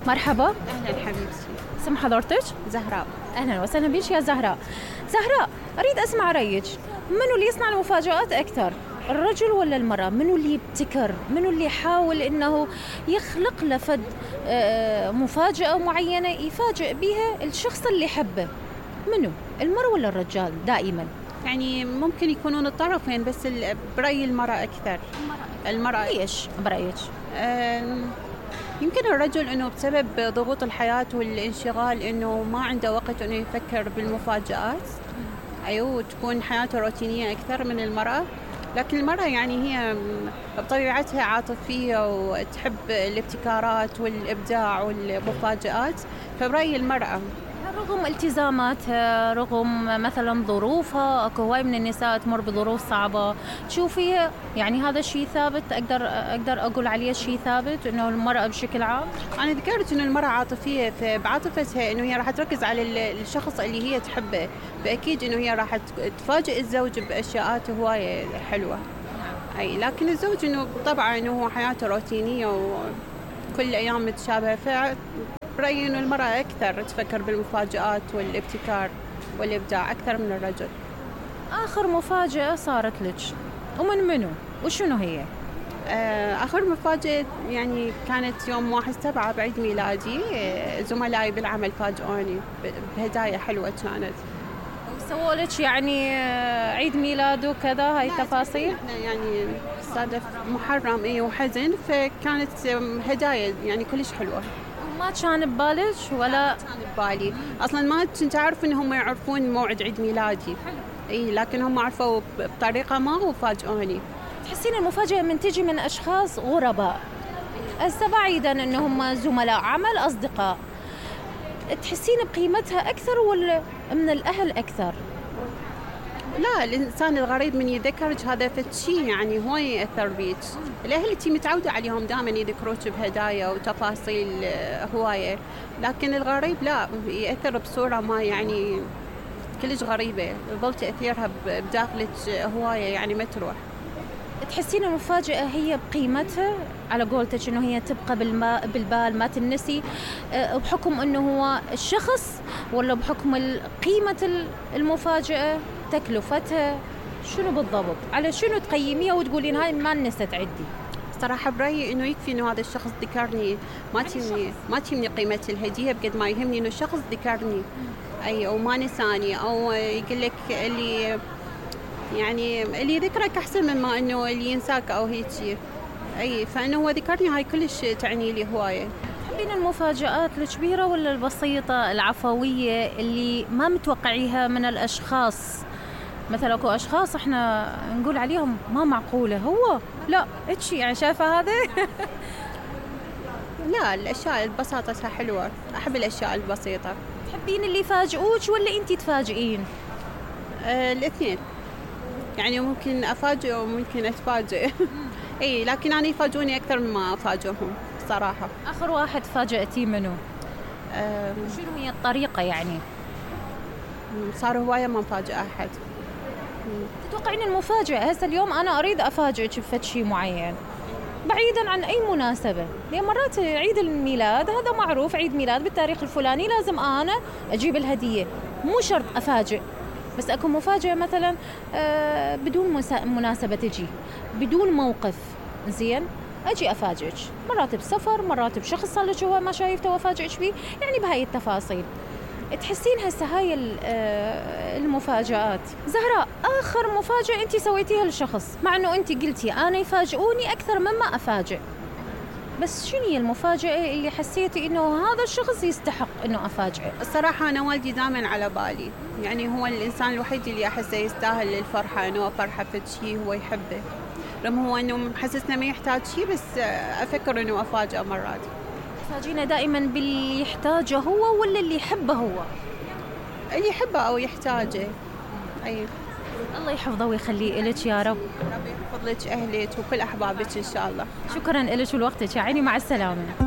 مرحبا. أهلا حبيبتي. اسم حضرتك؟ زهراء. أهلا وسهلا بيش يا زهراء. زهراء، أريد أسمع رأيك، منو اللي يصنع المفاجآت أكثر؟ الرجل ولا المرأة؟ منو اللي يبتكر؟ منو اللي يحاول إنه يخلق لفد مفاجأة معينة يفاجئ بها الشخص اللي يحبه؟ منو؟ المرأة ولا الرجال دائما؟ يعني ممكن يكونون الطرفين، بس برأيي المرأة أكثر. المرأة. ليش برأيك؟ يمكن الرجل إنه بسبب ضغوط الحياة والانشغال إنه ما عنده وقت إنه يفكر بالمفاجآت. أيوة، وتكون حياته روتينية أكثر من المرأة. لكن المرأة يعني هي بطبيعتها عاطفية وتحب الابتكارات والإبداع والمفاجآت، فبرأيي المرأة. رغم التزاماتها، رغم مثلا ظروفها، اكو هواي من النساء تمر بظروف صعبة تشوفيها، يعني هذا الشيء ثابت، اقدر اقول عليه شيء ثابت انه المرأة بشكل عام. انا ذكرت انه المرأة عاطفية، فبعاطفتها انه هي راح تركز على الشخص اللي هي تحبه، فاكيد انه هي راح تفاجئ الزوج باشياء هواية حلوة. اي لكن الزوج انه طبعا انه هو حياته روتينية وكل ايام متشابهة، برأيي إنه المرأة أكثر تفكر بالمفاجآت والابتكار والإبداع أكثر من الرجل. آخر مفاجأة صارت لك ومن منو وشنو هي؟ آخر مفاجأة يعني كانت يوم 1/7 بعيد ميلادي. زملائي بالعمل فاجئوني بهدايا حلوة كانت. سووا لك يعني عيد ميلاد وكذا هاي التفاصيل؟ احنا يعني صادف محرم وحزن، فكانت هدايا يعني كلش حلوة. ما كان ببالك ولا؟ كان ببالي اصلا، ما كنت اعرف انهم يعرفون موعد عيد ميلادي. اي لكن هم عرفوا بطريقه ما وفاجئوني. تحسين المفاجاه من تجي من اشخاص غرباء، هسه بعيدا انهم زملاء عمل، اصدقاء، تحسين بقيمتها اكثر ولا من الاهل اكثر؟ لا، الإنسان الغريب من يذكرك هذا فشي يعني هو يأثر بيك. الأهل اللي متعودة عليهم دائما يذكروك بهدايا وتفاصيل هواية، لكن الغريب لا، يأثر بصورة ما يعني كلش غريبة، يظل تأثيرها بداخلك هواية يعني ما تروح. تحسين المفاجأة هي بقيمتها على قولتك إنه هي تبقى بالبال ما تنسي، بحكم إنه هو الشخص ولا بحكم قيمة المفاجأة، تكلفتها، شنو بالضبط؟ على شنو تقيميها وتقولين هاي ما نست عندي؟ صراحة برأيي إنه يكفي إنه هذا الشخص ذكرني، ما تهمني قيمة الهدية بقد ما يهمني إنه الشخص ذكرني، أي أو ما نساني، أو يقول لك اللي ذكرك أحسن مما إنه اللي ينساك أو هيك. أي فإنه هو ذكرني، هاي كلش تعني لي هواية. تحبين المفاجآت الكبيرة ولا البسيطة العفوية اللي ما متوقعيها من الأشخاص؟ مثلا اكو اشخاص احنا نقول عليهم ما معقوله، هو لا اتشي يعني شايفه هذا. لا، الاشياء البساطه حلوه، احب الاشياء البسيطه. تحبين اللي يفاجئوك ولا انتي تفاجئين؟ الاثنين، يعني ممكن افاجئ وممكن اتفاجئ. اي لكن انا يفاجئوني اكثر مما افاجئهم صراحه. اخر واحد فاجأتيه منو؟ شنو هي الطريقه يعني؟ صار هوايه ما مفاجئ احد. تتوقعين المفاجأة هسه اليوم أنا أريد أفاجئك بفد شيء معين بعيدا عن أي مناسبة، لأن مرات عيد الميلاد هذا معروف، عيد ميلاد بالتاريخ الفلاني لازم أنا أجيب الهدية، مو شرط أفاجئ، بس أكون مفاجأة مثلا بدون مناسبة، تجي بدون موقف، زين أجي أفاجئك، مرات بسفر، مرات بشخص صار لك هو ما شايفته وأفاجئك فيه، يعني بهاي التفاصيل. تحسين هسه هاي المفاجآت. زهراء، آخر مفاجأة أنت سويتيها للشخص، مع أنه أنت قلتي أنا يفاجئوني أكثر مما أفاجئ، بس شنو هي المفاجأة اللي حسيتي إنه هذا الشخص يستحق إنه أفاجئه؟ الصراحة أنا والدي دائما على بالي، يعني هو الإنسان الوحيد اللي أحسه يستاهل الفرحة، إنه فرحة في شيء هو يحبه، رغم هو إنه محسسنا ما يحتاج شيء، بس أفكر إنه أفاجئه مرات. تفاجئنا دائما باللي يحتاجه هو ولا اللي يحبه هو؟ اللي يحبه أو يحتاجه. أي الله يحفظه ويخليه إلك يا رب. ربي يحفظ لك أهلك وكل أحبابك إن شاء الله. شكرا إلك ولوقتك يا عيني، مع السلامة.